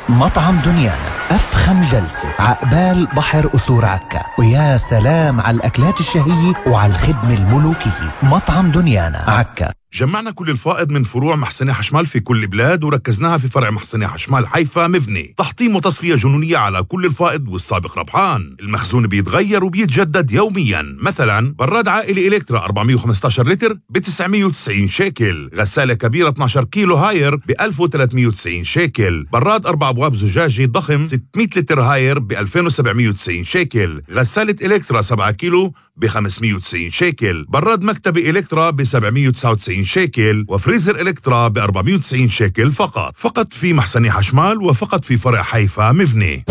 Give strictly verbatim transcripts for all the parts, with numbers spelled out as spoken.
مطعم دنيانا، أفخم جلسة عقبال بحر قصور عكا، ويا سلام على الأكلات الشهية وعلى الخدمة الملوكية. مطعم دنيانا عكا. جمعنا كل الفائض من فروع محسنة حشمال في كل بلاد وركزناها في فرع محسنة حشمال حيفا مفني. تحطيم وتصفية جنونية على كل الفائض والسابق ربحان. المخزون بيتغير وبيتجدد يوميا. مثلا براد عائلي إلكترا أربعمية وخمسة عشر لتر ب تسعمية وتسعين شيكل، غسالة كبيرة اثني عشر كيلو هاير ب ألف وثلاثمية وتسعين شيكل، براد أربع أبواب زجاجي ضخم ستمية لتر هاير ب ألفين وسبعمية وتسعين شيكل، غسالة إلكترا سبعة كيلو ب خمسمية وتسعين شيكل، براد مكتبي إلكترا ب سبعمية وتسعة وتسعين شيكل، وفريزر إلكترا ب أربعمية وتسعين شيكل فقط. فقط في محسنة حشمال وفقط في فرع حيفا مفني.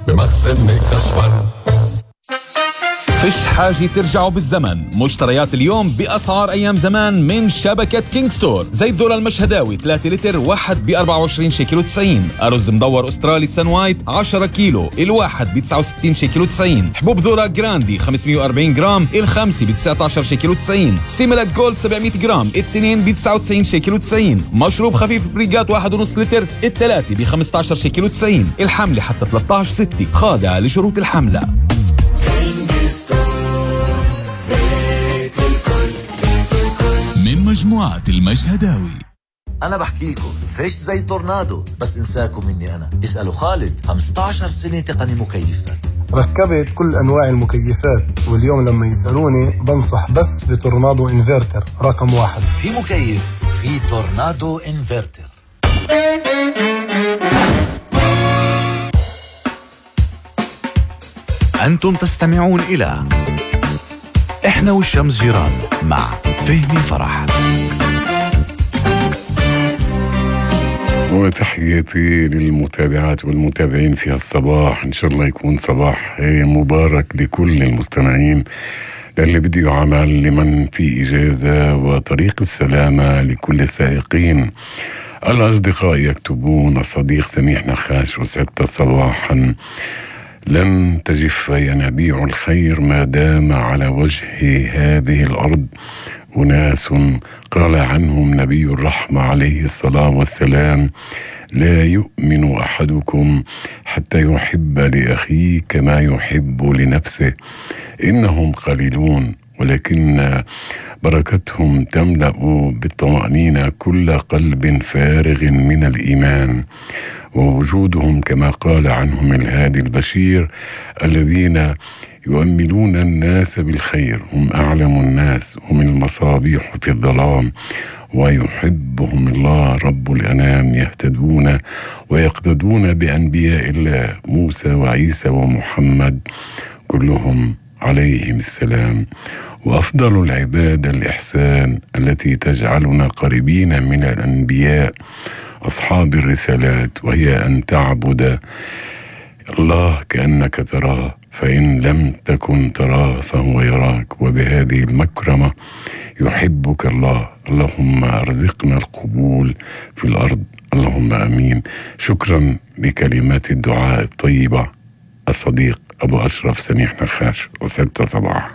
بمخزن حشمال. فيش حاجة ترجعوا بالزمن. مشتريات اليوم بأسعار أيام زمان من شبكة كينج ستور. زيت ذرة المشهداوي ثلاثة لتر واحد ب أربعة وعشرين شيكل وتسعين. أرز مدور أسترالي سان وايت عشرة كيلو الواحد ب تسعة وستين شيكل وتسعين. حبوب ذرة جراندي خمسمية وأربعين جرام الخمسة ب تسعة عشر شيكل وتسعين. سيميلاك جولد سبعمية جرام الاثنين ب تسعة وتسعين شيكل وتسعين. مشروب خفيف بريجات واحد ونص لتر الثلاثة ب خمسة عشر شيكل وتسعين. الحملة حتى ثلاثة عشر ستة، خاضعة لشروط الحملة. من مجموعة المشهداوي. أنا بحكي لكم فيش زي تورنادو، بس إنساكم مني أنا. اسألوا خالد، خمسة عشر سنة تقني مكيفات. ركبت كل أنواع المكيفات، واليوم لما يسألوني بنصح بس بتورنادو إنفرتر رقم واحد. في مكيف في تورنادو إنفرتر. أنتم تستمعون إلى إحنا والشمس جيران مع فهمي فرح. وتحياتي للمتابعات والمتابعين في هالصباح. إن شاء الله يكون صباح مبارك لكل المستمعين، للي بده يعمل، لمن في إجازة، وطريق السلامة لكل السائقين. الأصدقاء يكتبون: الصديق سميح نخاش وستة صباحا، لن تجف ينابيع الخير ما دام على وجه هذه الأرض أناس قال عنهم نبي الرحمة عليه الصلاة والسلام: لا يؤمن أحدكم حتى يحب لأخيه كما يحب لنفسه. إنهم قليلون ولكن بركتهم تملأ بالطمأنينة كل قلب فارغ من الإيمان، ووجودهم كما قال عنهم الهادي البشير: الذين يؤملون الناس بالخير هم أعلم الناس، هم المصابيح في الظلام، ويحبهم الله رب الأنام، يهتدون ويقتدون بأنبياء الله موسى وعيسى ومحمد كلهم عليهم السلام. وأفضل العبادة الإحسان التي تجعلنا قريبين من الأنبياء أصحاب الرسالات، وهي أن تعبد الله كأنك تراه، فإن لم تكن تراه فهو يراك. وبهذه المكرمة يحبك الله. اللهم ارزقنا القبول في الأرض، اللهم أمين. شكرا لكلمات الدعاء الطيبة. الصديق أبو أشرف سميح نخاش وستة صباحا.